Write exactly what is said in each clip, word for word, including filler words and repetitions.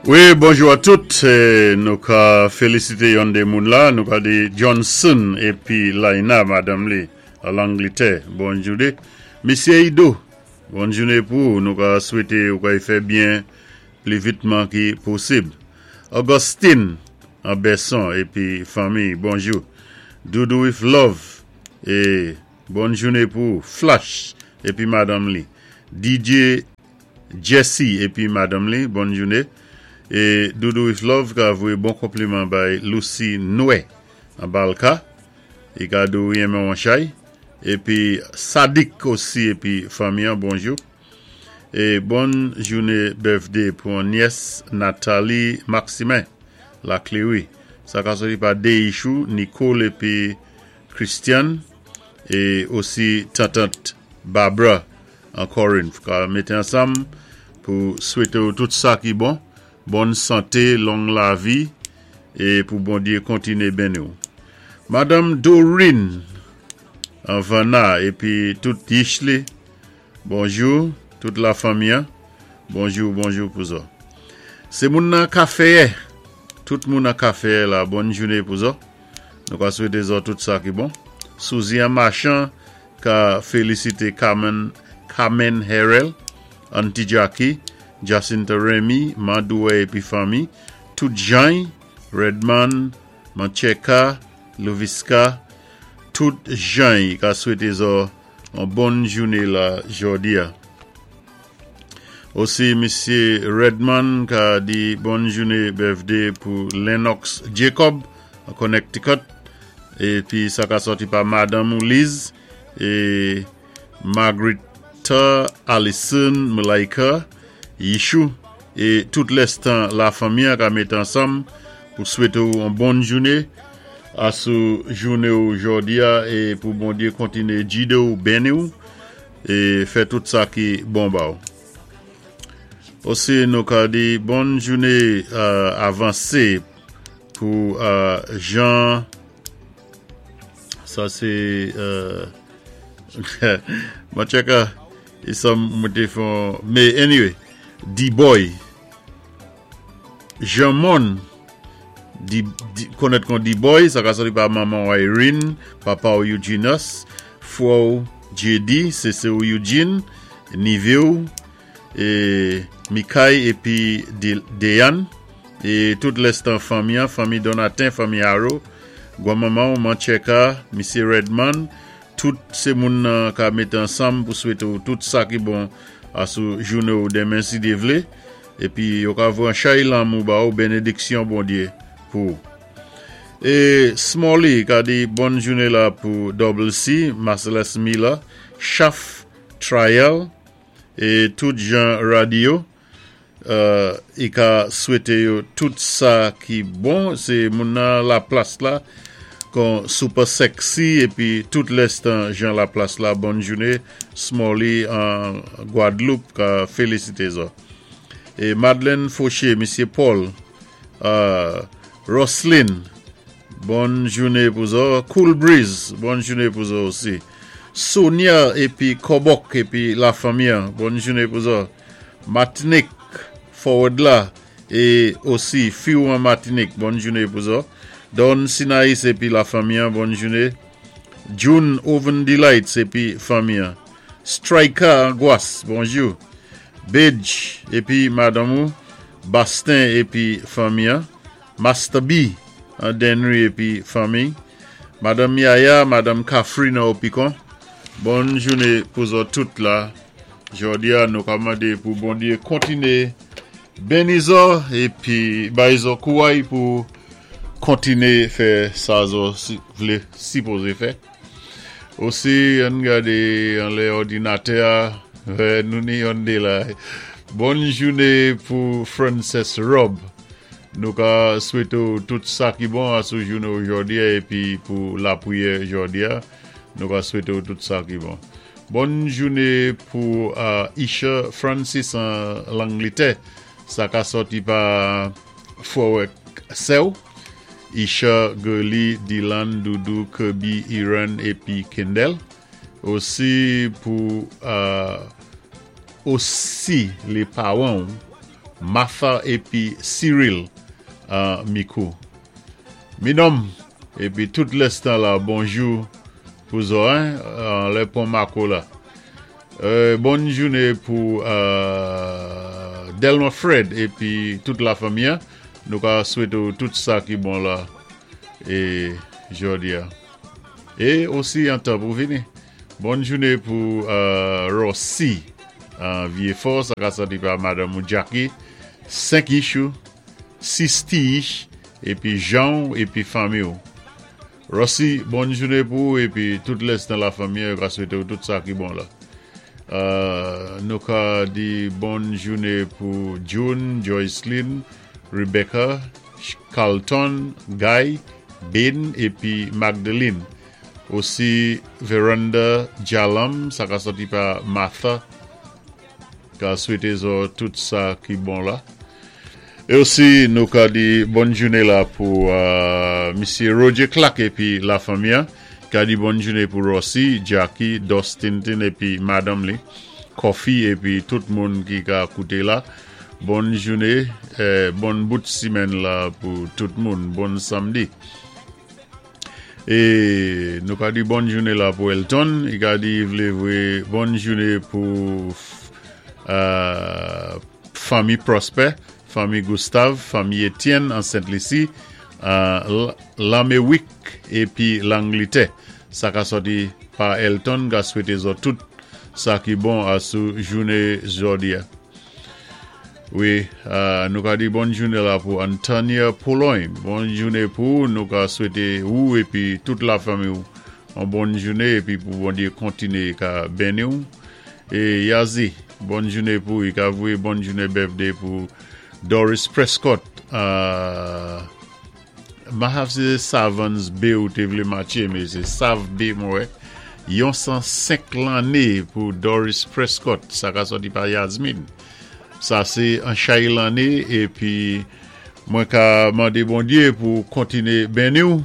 Wi, bonjou a tout. Nou ka félisité yon dé moun la. Nou ka di Johnson épi Laina, madanm li, a Langlétè. Bòn jouné. Misyé Ido, bòn jouné pou nou ka swété ou ka fè byen pli vitman ki posib. Augustine, an Besson, épi fanmi, bonjou. Doudou with Love, é bòn jouné pou Flash, épi madanm li. D J Jesse, épi madanm li, bòn jouné. É Doudou with Love ka voyé bon konpliman bay Lucy Noué an Balka. I ka di ou renmen an chay. Épi Sadik osi épi fanmi, bonjou. É bòn jouné birthday pou niès Nathalie Maximin la Cléry. Sa ka soti pa Deishou, Nicole épi Christian é osi tantant Barbara an Corinth. Ka mété ansanm pou swété tout sa ki bon, bòn santé, long lavi é pou Bondyé kontiné béni. Madanm Dorine an Vanna épi tout Yishley, bonjou, tout lafanmi, hein. Bonjou, bonjou pou zòt. Sé moun nan kafé, tout moun nan kafé la, bòn jouné pou zòt. Nou ka swété zòt tout sa ki bon. Suzy an Machan ka félisité Carmen, Carmen Herel, Auntie Jackie, Jacinta Remy, Mandoué épi fanmi, tout Jean, Redman, Mancheka, Louviska, tout Jean ka swété zòt yon bòn jouné la jòdi a. Osi, Misyé Redman ka di bòn jouné birthday pou Lennox Jacob an Connecticut. Épi sa ka sòti pa Madanm Liz é Margarita Allison Malaika Yishou é tout lèstan lafanmi ka mété ansanm pou swété yon bòn jouné asou jouné jòdi a é pou Bondyé kontiné gidé ou béni ou é fè tout sa ki bon ba ou. Osi nou ka di bòn jouné euh, avansé pou euh, Jean, sa sé euh, mwen tchèké e sa mwen té fon, mais anyway, D-Boy Jean Mon di, di, konnèt kon D-Boy, sa ka sòti pa manman Irene, papa ou Eugenius, frè ou J D, sè ou Eugene, nivé ou, é Mikai épi Deyan, é tout lèstan fanmi, fanmi Donatin, fanmi Haro, gwanmanman, Mancheka, Misyé Redman, tout sé moun ka mété ansanm pou swété tout sa ki bon asou jouné ou denmen si Dyé vlé épi yo ka voyé chay lanmou ba ou bénédiksyon Bondyé pou é Smalley ka di bòn jouné la pou Double C, Marcellus Miller, Chaf Trial é tout Jean Radio euh, i ka swété yo tout sa ki bon, sé moun nan la plas la kon super sexy épi tout lèstan Jean la plas la, bòn jouné. Smalley an Guadeloupe ka félisité zòt. É Madeleine Fauché, Misyé Paul, euh, Roslyn, bòn jouné pou zòt. Cool Breeze, bòn jouné pou zòt osi. Sonia épi Kobok épi lafanmi, bòn jouné pou zòt. Martinique, Forward la é osi fi an Martinique, bòn jouné pou zòt. Don Sinaïs épi lafanmi, bòn jouné. June Oven Delights épi fanmi. Striker Angoisse, bonjou. Bedge épi madanm Bastin épi fanmi. Master B an Denry épi fanmi. Madanm Yaya, Madanm Kafri nan Opicon. Bòn jouné pou zòt tout la. Jòdi a nou ka mandé pou Bondyé kontiné béni zòt épi bay zòt kouway pou kontiné fè sa zòt si, vlé sipozé fè. Osi, ann gadé anlè òdinatè, nou ni yon dé la. Bòn jouné pou Frances Rob. Nou ka swété tout sa ki bon asou jouné jòdi a épi pou lapriyè jòdi a. Nou ka swété tout sa ki bon. Bòn jouné pou euh, Isha Francis an Langlétè. Sa ka sòti pa frè w sè w. Isha, Gurley, Dylan, Doudou, Kirby, Iran épi Kendall. Osi pou euh, osi lé pawan Martha épi Cyril an Micoud. Minom, épi tout lèstan la, bonjou pou zo, hein, an lè Pon Mako la. Euh, bonn jouné pou euh, Delma Fred épi tout la fanmi. Nou ka swété tout sa ki bon la é jòdi a. É osi an tan pou vini. Bonn jouné pou euh, Rossi an Vieux-Fort, sa ka sòti pa Madanm Jackie, senk ichou, sis ti ich, épi Jean épi fanmi. Rossi, bonn jouné pou ou épi tout lèstan la fanmi, ka swété tout sa ki bon la. Euh, nou ka di bonn jouné pou June, Joycelyn, Rebecca, Carlton, Guy, Ben épi Magdalene. Osi Veranda Jalam, sa ka sòti pa Martha, ka swété zo tout sa ki bon la. É osi nou ka di bonn jouné la pou euh, Misyé Roger Clark épi la fanmi, ka di bonn jouné pou Rossi, Jackie, Dustin épi Madanm li, Kofi épi tout moun ki ka kouté la. Bonn jouné, eh, bonn bout simenn la pou tout moun, bonn samdi. É nou ka di bonn jouné la pou Elton, i ka di vlé vwé bonn jouné pou euh, fanmi Prosper, fanmi Gustave, fanmi Etienne an Sainte-Lucie, euh, Laméwik épi Langlétè. Sa ka sòti pa Elton, ka swété zo tout sa ki bon asou jouné jòdi a. Wi, euh, nou ka di bonn jouné la pou Antonia Pologne. Bonn jouné pou nou ka swété ou épi tout la fanmi ou. An bonn jouné épi pou Bondyé kontiné ka béni ou. É Yazi, bonn jouné pou i ka vwé bonn jouné birthday pou Doris Prescott. Euh, Mahav sé Savans B ou té vlé matché, mé sé Sav B mwen. Yon san senk lanné pou Doris Prescott, sa ka sòti pa Yasmine. Sa sé an chay lanné épi mwen ka mandé Bondyé pou kontiné béni ou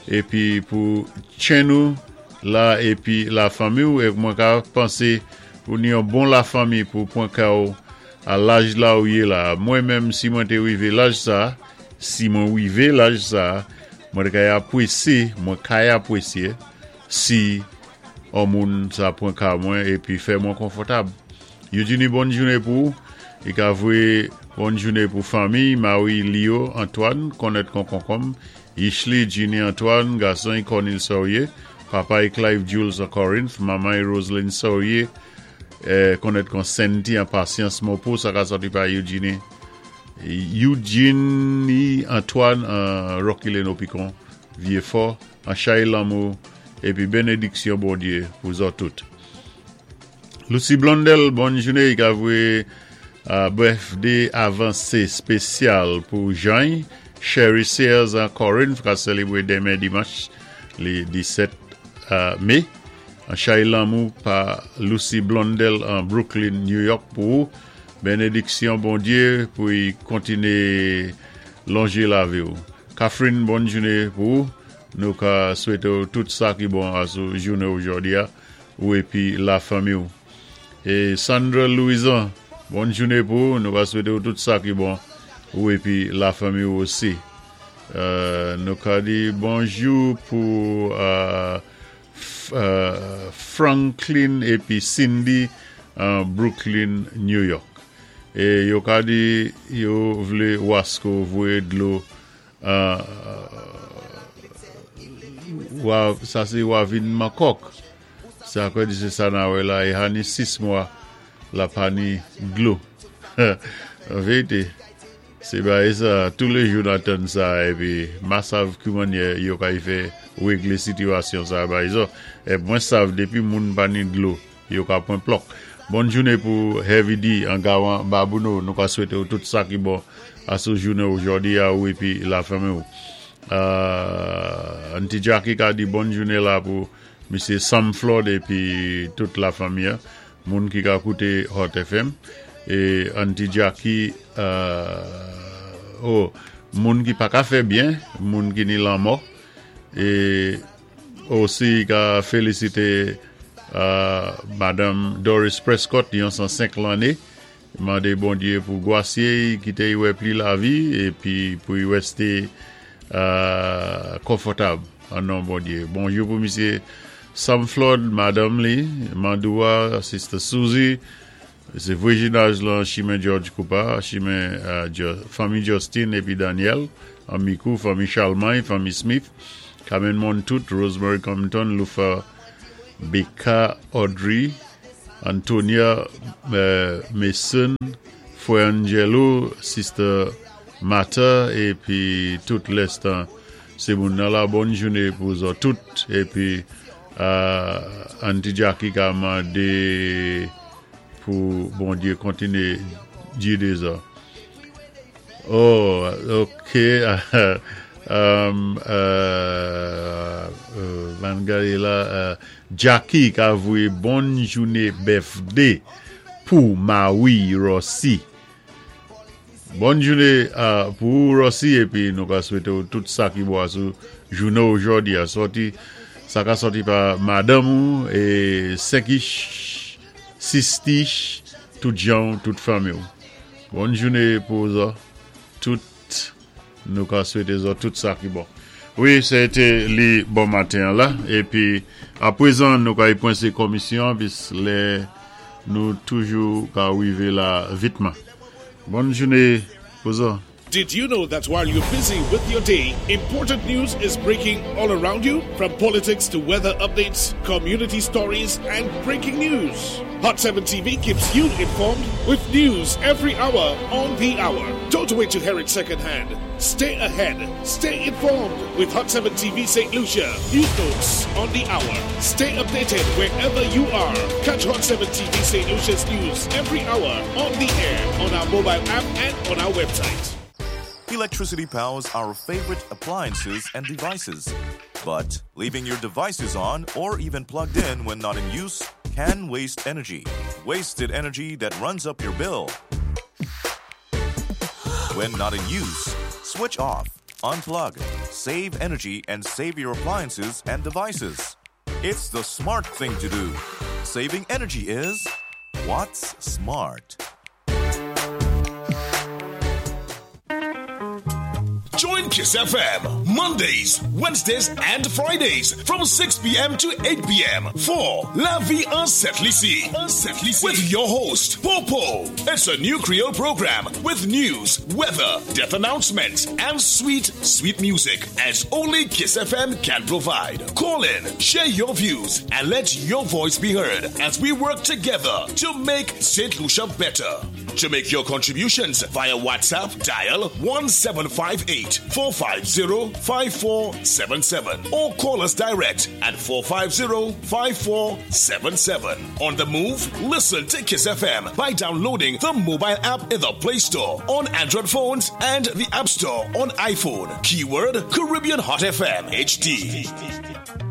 épi pou tjenn ou la épi la fanmi ou é mwen ka pansé pou ni yon bon la fanmi pou pwan ka ou a laj la ou yé la. Mwen menm si mwen té wivé laj sa, si mwen wivé laj sa, mwen kay apwésyé, mwen kay apwésyé si an moun sa pwan ka mwen épi fè mwen konfòtab. Eugenie, bonn jouné pou ou. I ka vwé bonn jouné pou fanmi, Marie Leo Antoine, konnèt kon konkonm, Ishley Ginny Antoine, gason Cornel Saurier, papa Clive Jules an Corinth, manman Roselyne Saurier, eh, konnèt kon Sandy an Patience Mopo, sa ka sòti pa Eugenie. Eugenie Antoine an Rocky Leno Picon, Vieux-Fort, an chay lanmou, épi bénédiksyon Bondyé pou zo tout. Lucy Blondel, bonn jouné, i ka vwé uh, birthday avansé spésyal pou Jean, Sherry Sears an Corinth, ka sélébwé denmen dimanch, lé disèt uh, mé. An chay lanmou pa Lucy Blondel an Brooklyn, New York pou ou. Bénédiksyon Bondyé pou y kontiné lonjé lavi ou. Catherine, bonn jouné pou ou. Nou ka swété tout sa ki bon asou jouné jòdi a, ou épi la fanmi ou. É Sandra Louison, bonn jouné pou ou. Nou ka swété tout sa ki bon ou épi la fanmi ou osi. Euh, nou ka di bonjou pou euh, euh, Franklin épi Cindy an Brooklyn, New York. É yo ka di yo vlé Wasco vwé dlo euh, wa, sa sé Wavin Makok. Sa kwa di sé sa na wè la, i hani sis mwa la pa ni dlo. An vérité, sé bagay sa, tou lé jou n atann sa, épi ma sav ki mannyè yo kay fè réglé sitiyasyon sa bay zo. É mwen sav dépi moun pa ni dlo, yo ka pwan plòk. Bonn jouné pou Heavy D an Gawan Babouno, nou ka swété ou tout sa ki bon asou jouné jòdi a ou épi la fanmi ou. Euh, Auntie Jackie ka di bonn jouné la pou Misyé Sam Flood épi tout la fanmi, moun ki ka kouté Hot F M. É Auntie Jackie, euh, oh, moun ki pa ka fè byen, moun ki ni lanmò, é osi ka félisité euh, Madanm Doris Prescott, yon san senk lanné, Mandé Bondyé pou gwasé kité i wè pli lavi épi pou i wèsté euh, konfòtab an non Bondyé. Bonjou pou misyé Sam Flood, madanm li, Mandoua, Sister Suzy, sé vwazinaj lan chimen George Cooper, chimen euh, fanmi Justin épi Daniel, an Mikou, fanmi Charlemagne, fanmi Smith, Carmen Montout, Rosemary Compton, Lufa Becca Audrey, Antonia euh, Mason, Frè Angelo, Sister Mata, épi tout lèstan sé moun nan la bòn jouné pou zòt tout, épi euh, Auntie Jackie ka mandé pou Bondyé kontiné gidé zòt. Oh, ok. um, euh, euh, ann gadé la, euh, Jackie ka voyé bòn jouné birthday pou Maui Rossi. Bòn jouné euh, pou Rossi épi nou ka swété tout sa ki bon sou jouné òjòdi a sòti sa ka sòti pa madanm ou é senkich, sistich, tout jan, tout fanmi. Bòn jouné pou zòt, tout nou ka swété zòt tout sa ki bon. Wi, sé té li bon maten la épi apwézan nou ka y pwensé komisyon pis lè nou toujou ka wivé la vitman. Bòn jouné pou zòt. Did you know that while you're busy with your day, important news is breaking all around you? From politics to weather updates, community stories, and breaking news. Hot seven T V keeps you informed with news every hour on the hour. Don't wait to hear it secondhand. Stay ahead. Stay informed with Hot seven T V Saint Lucia. News notes on the hour. Stay updated wherever you are. Catch Hot seven T V Saint Lucia's news every hour on the air, on our mobile app, and on our website. Electricity powers our favorite appliances and devices. But leaving your devices on or even plugged in when not in use can waste energy. Wasted energy that runs up your bill. When not in use, switch off, unplug, save energy, and save your appliances and devices. It's the smart thing to do. Saving energy is what's smart. Join Kiss F M Mondays, Wednesdays, and Fridays from six p m to eight p m for La Vie en Sent Lisi with your host, Popo. It's a new Creole program with news, weather, death announcements, and sweet, sweet music as only Kiss F M can provide. Call in, share your views, and let your voice be heard as we work together to make Saint Lucia better. To make your contributions via WhatsApp, dial one seven five eight four five zero five four seven seven or call us direct at four five zero five four seven seven. On the move, listen to Kiss F M by downloading the mobile app in the Play Store on Android phones and the App Store on iPhone. Keyword Caribbean Hot F M H D.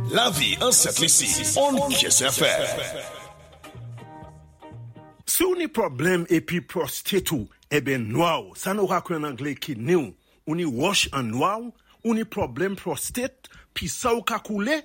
La Vie en Sent Lisi on Kiss F M. Si ou ni pwoblèm épi prostate ou, eben nwa ou, sa nou ka an anglé kidney ou, ou ni wòch an nwa ou, ou ni pwoblèm prostate, pi sa ou ka koulé,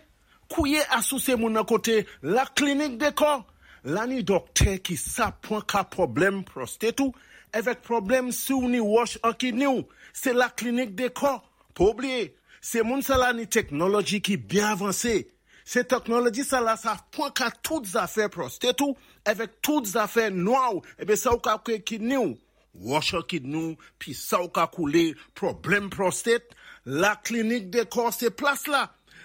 kouwé asosyé moun nan koté la Klinik Dekò. La ni dòktè ki sa pwan ka pwoblèm prostate ou, avèk pwoblèm si ou ni wòch an kidney ou, sé la Klinik Dekò. Pa oubliyé, sé moun sa la ni teknoloji ki byen avansé. Sé teknoloji sa la sa pwan ka tout zafè prostate ou, avèk tout zafè nwa ou, eben sa ou ka kwé kidney ou. Wòch an kidney ou, pi sa ou ka koulé, pwoblèm prostate, la Klinik Dekò sé plas la.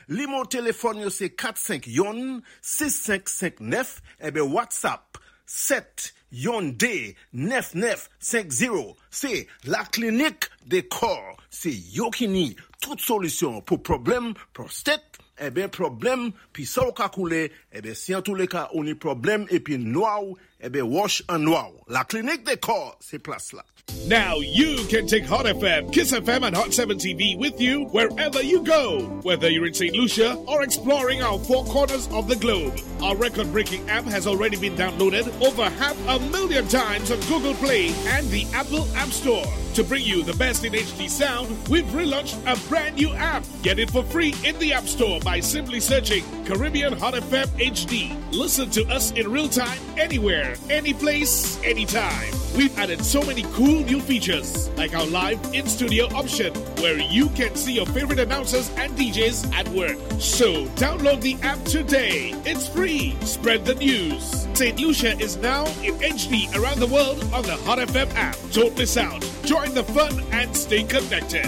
Nimewo téléfòn yo sé kat senk youn sis senk senk nèf, eben WhatsApp sèt youn dé nèf nèf senk zewo. Sé la Klinik Dekò. Sé yo ki ni tout solisyon pou pwoblèm prostate, eben pwoblèm pi sa ou ka koulé, eben si an tou lé ka ou ni pwoblèm épi nwa ou, eben wòch an nwa ou. La Klinik Dekò, sé plas la. Now you can take Hot F M, Kiss F M, and Hot seven T V with you wherever you go. Whether you're in Saint Lucia or exploring our four corners of the globe. Our record breaking app has already been downloaded over half a million times on Google Play and the Apple App Store. To bring you the best in H D sound, we've relaunched a brand new app. Get it for free in the App Store by simply searching Caribbean Hot F M H D. Listen to us in real time, anywhere, any place, anytime. We've added so many cool new features, like our live in studio option, where you can see your favorite announcers and DJs at work. So download the app today. It's free. Spread the news. St. Lucia is now in HD around the world on the Hot FM app. Don't miss out. Join the fun and stay connected.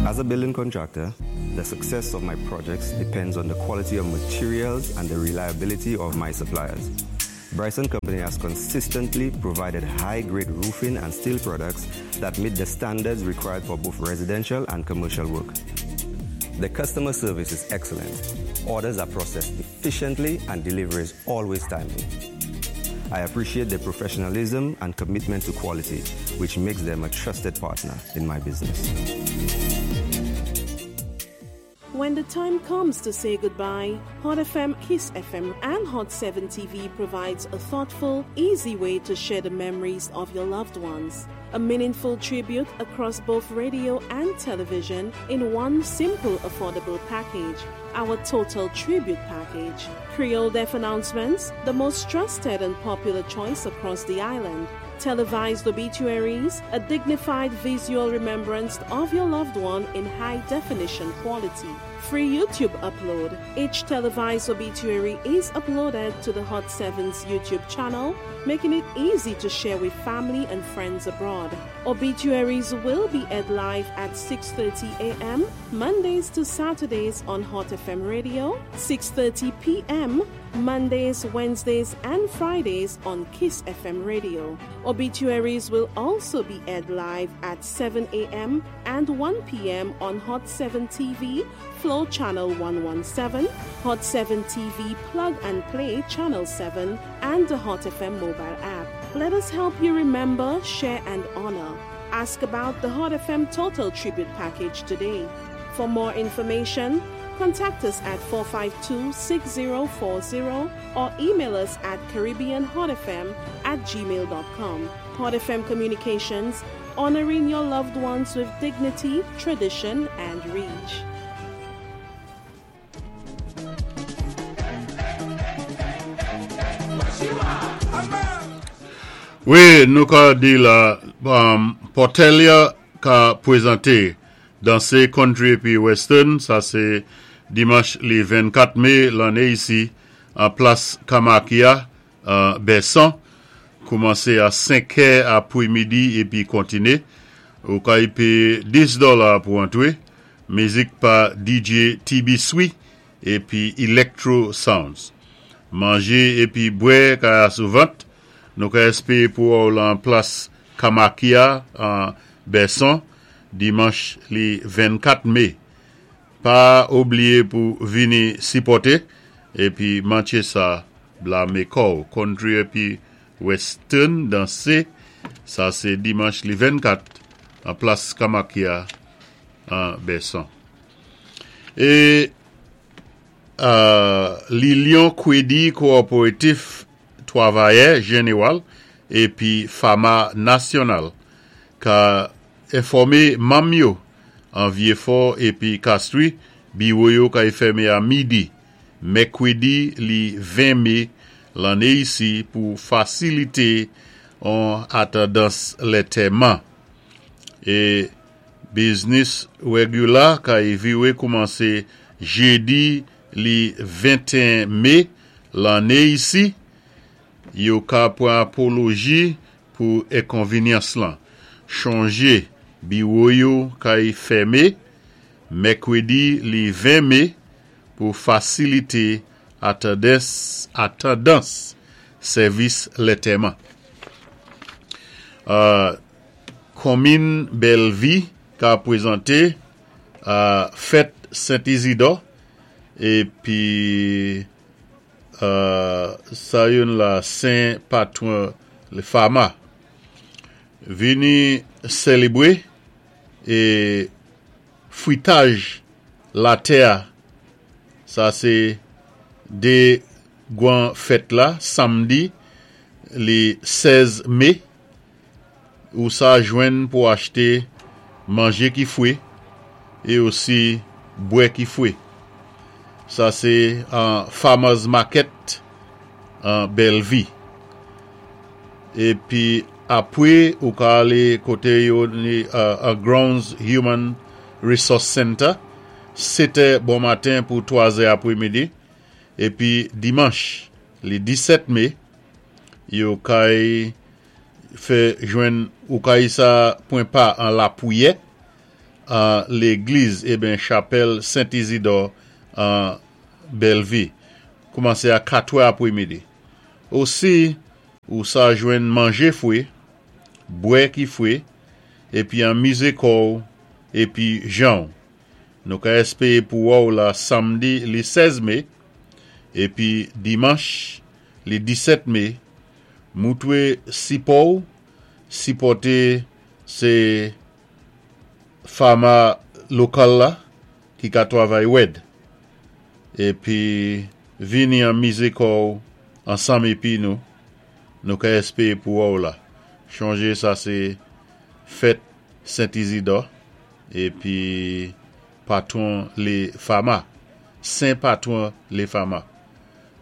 As a building contractor, the success of my projects depends on the quality of materials and the reliability of my suppliers. Bryson Company has consistently provided high-grade roofing and steel products that meet the standards required for both residential and commercial work. The customer service is excellent. Orders are processed efficiently and delivery is always timely. I appreciate their professionalism and commitment to quality, which makes them a trusted partner in my business. When the time comes to say goodbye, Hot FM, Kiss FM, and Hot seven TV provides a thoughtful, easy way to share the memories of your loved ones. A meaningful tribute across both radio and television in one simple, affordable package. Our Total Tribute Package. Creole Death Announcements, the most trusted and popular choice across the island. Televised obituaries, a dignified visual remembrance of your loved one in high definition quality. Free YouTube upload. Each televised obituary is uploaded to the Hot Seven's YouTube channel, making it easy to share with family and friends abroad. Obituaries will be aired live at six thirty a.m. Mondays to Saturdays on Hot F M Radio, six thirty p m Mondays, Wednesdays, and Fridays on Kiss F M Radio. Obituaries will also be aired live at seven a m and one p m on Hot seven T V, Flow Channel one one seven, Hot seven T V Plug and Play Channel seven, and the Hot F M mobile app. Let us help you remember, share, and honor. Ask about the Hot F M Total Tribute Package today. For more information, contact us at four five two, six zero four zero or email us at caribbean hot f m at gmail dot com. Hot F M Communications, honoring your loved ones with dignity, tradition, and reach. Oui, nous avons dit là, um, Portelia qu'a présenté dans ces country puis western, ça c'est dimanche le vingt-quatre mai l'année ici, en place Kamakia, euh, Besson, commencé à cinq heures après-midi et puis continuer. Au cas il paye dix dollars pour entrer. Musique par D J T B Sui et puis Electro Sounds. Manger et puis boire car souvent. Nous avons espéré pour en place Kamakia en Besson dimanche le vingt-quatre mai. Pas oublier pour venir supporter et puis mancher ça blâmer corps country et puis western danser, ça c'est dimanche le vingt-quatre en place Kamakia en Besson. Et, euh, Lilion Kwedi Coopératif Travailleur Général et puis Fama National qu'a informé Mamio en Vieux-Fort et puis Castries, bureau yo qu'a fermé à midi, mercredi li vingt mai l'année ici pour faciliter en attendance l'enterrement. Et business regular qu'a évolué commencé jeudi li vingt et un mai l'année ici. Yo ka pour apologie pour inconvénience là. Changer bureau yo ka y fermé mercredi li vingt mai pour faciliter attendance, attendance service l'enterrement. Euh, commune Bellevue qu'a présenté, euh, fête Saint-Isidore et puis, euh, ça y est, la Saint Patron le Fama vini célébrer et fruitage la terre, ça c'est des grands fêtes là samedi le seize mai où ça joine pour acheter manger qui fouet et aussi boire qui fouet. Ça c'est en Farmers Market en Bellevue. Épi apwé ou ka alé koté yo ni uh, Grounds Human Resource Center, sèt è bon maten pou twazè apwémidi. Épi dimanch, li disèt mé, yo kay fè jwenn ou kay sa pwan pa an lapwiyè an légliz eben chapèl Saint-Isidore an Bellevue. Koumansé a katwè apwémidi. Osi, ou sa jwenn manjé fwé, bwè ki fwé, épi anmizé kò épi jan. Nou ka éspéwé pou wè la samdi li sèz mé, épi dimanch li disèt mé, moutwé sipò, sipòté sé fama lokal la ki ka twavay wèd. Épi vini anmizé kò ansanm épi nou, nou ka éspéwé pou wè la. Chonjé sa sé fèt Saint-Isidore épi patwon lé fama, Sen patwon lé fama.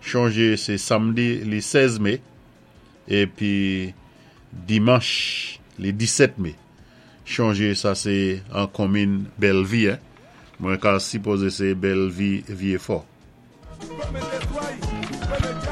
Chonjé sé samdi li sèz mé épi dimanch li disèt mé. Chonjé sa sé an konmin Bellevue, hein? Mwen ka sipozé sé Bellevue Vieux-Fort.